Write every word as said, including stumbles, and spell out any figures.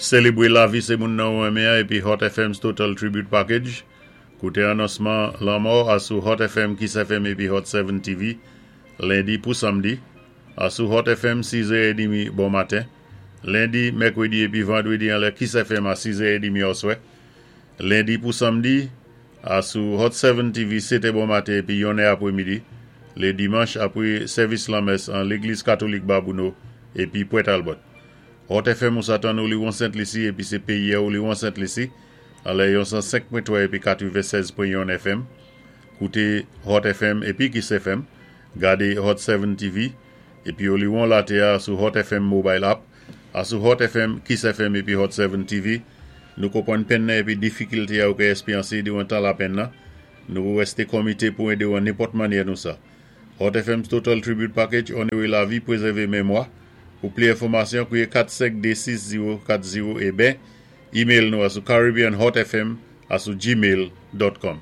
Sélébwé lavi sé moun nan ou renmen épi Hot F M's Total Tribute Package. Kouté anonsman lanmò asou Hot F M, Kiss F M épi Hot sept T V, lendi pou samdi. Asou Hot F M, sis è trant bon maten. Lendi, mèkwédi épi vandwédi anlè Kiss F M a sis è trant oswè. Lendi pou samdi, asou Hot sept T V, sèt è bon maten épi yon è apwé midi. Lé dimanch apwé sèvis lanmès an Légliz Katolik Babonneau épi Port Talbot. Hot F M ou sa tann Oléron Sent Lisi épi sé péyi Oléron Sent Lisi. Anlè yon san senk pwen twa épi katwennsèz pwen yon F M. Kouté Hot F M épi Kiss F M. Gadé Hot sept T V épi Oléron Laté sou Hot F M Mobile App. Asou Hot F M, Kiss F M épi Hot sept T V. Nou konpwann penn nan épi difikilté ou ka ékspéryansé diwan tan lapenn nan. Nou wèsté komité pou édé an nenpòt mannyè nou sa. Hot F M's Total Tribute Package, onoré lavi, pwézèvé mémwa. Pou pli enfòmasyon, kouwé kat senk dé sis zewo kat zewo é ben, email nou asou caribbeanhotfm asou gmail dot com.